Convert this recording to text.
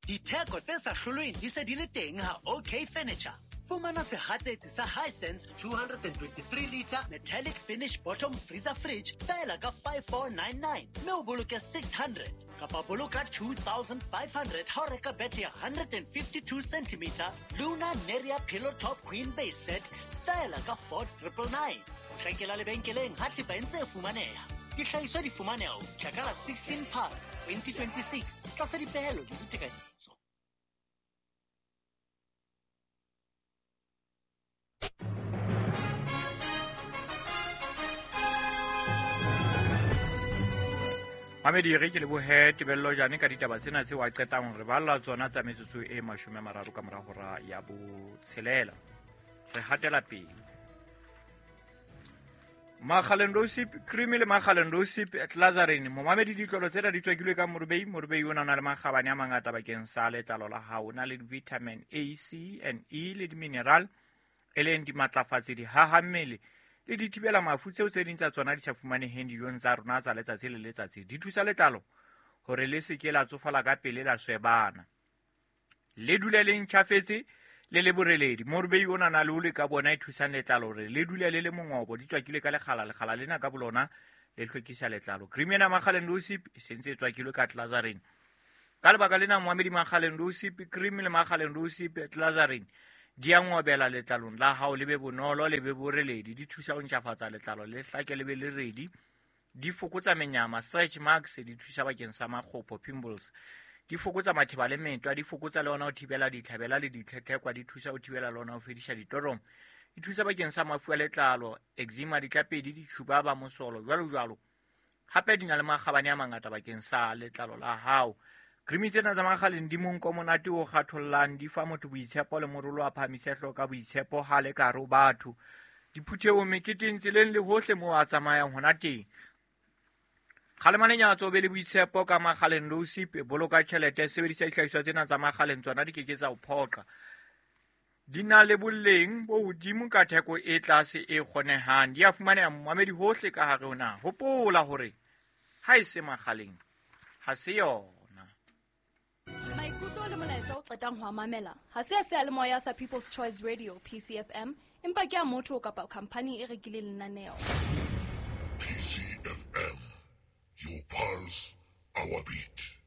Ditheko tse sa hlolweng di se di le teng ha OK Furniture. Fumana sehatsetsi sa Hisense 223 litre metallic finish bottom freezer fridge feela ka 5499 mme o boloke 600 kapa boloka 2500 ha o reka bethe ya 152 cm Luna Neria Pillow Top Queen Base Set feela ka 4999. Potlakela lebenkeleng ha thepa e ntse e fumaneha. Dihlahiswa di fumaneha ho fihla ka la 16 Phato 2026 tlasa dipehelo le ditekanyetso. Mamedi re ke lebohe Tebello Jane ka ditaba tsena tseo a qetang re balla tsona tsa metsotso e 30 ka mora hora ya botshelela. Re hatela pele. Makgaleng Rosip cream le Makgaleng Rosip Clazarin momamedi ditlolo tsena di tswakilwe ka morubei. Morubei o na le makgabane a mangata bakeng sa letlalo la hao. O na le vitamin A, C and E le di-mineral e leng dimatlafatsi, dihaha mmele le dithibela mafu tseo tse ding tsa tsona di sa fumaneheng dijong tsa rona tsa letsatsi le letsatsi. Di thusa letlalo hore le se ke la tsofala ka pele la swebana, le dule le ntjhafetse le le boreledi. Morubei o na le ole ka bona e thusang letlalo hore le dule le le mongobo. Di tswakilwe ka lekgala, lekgala lena ka bolona le hlwekisa letlalo. Cream ena Makgaleng Rosip e sentse e tswakilwe ka Clazarin. Ka lebaka lena moamedi Makgaleng Rosip cream le Makgaleng Rosip Clazarin di a ngobela letlalong la hao, le be bonolo le be boreledi. Di thusa ho ntjhafatsa letlalo le hlake le be le redi. Di fokotsa menyama, stretch marks, di thusa bakeng sa makgopo, pimples. Di fokotsa matheba le metwa, di fokotsa le ona ho thibela ditlhabela le ditlhetlhekwa, di thusa ho thibela le ona ho fedisa ditoromo. Di thusa bakeng sa mafu a letlalo, eczema, ditlapedi, ditjhuba ba mosolo, jwalo jwalo. Hape di na le makgabane a mangata bakeng sa letlalo la hao. Cream tsena tsa Makgaleng di monko monate o kgathollang, di fa motho boitshepo le morolo a phahamise hlooho ka boitshepo ha le ka hare ho batho. Diphuthehong, meketeng, tseleng le hohle moo a tsamayang hona teng. Kgalema lenyatso, o be le boitshepo ka Makgaleng Rosip. Boloka tjhelete, sebedisa dihlahiswa tsena tsa Makgaleng, tsona di ke ke tsa o phoqa. Di na le boleng bo hodimo ka theko e tlase e kgonehang. Di a fumaneha momamedi hohle ka hare ho naha. Hopola hore ha e se Makgaleng ha se yona. Maikutlo le molaetsa o qetang ho a mamela ha se a seyalemoya sa People's Choice Radio PCFM, empa ke a motho kapa khampani e rekileng lenaneo. PCFM, your pulse, our beat.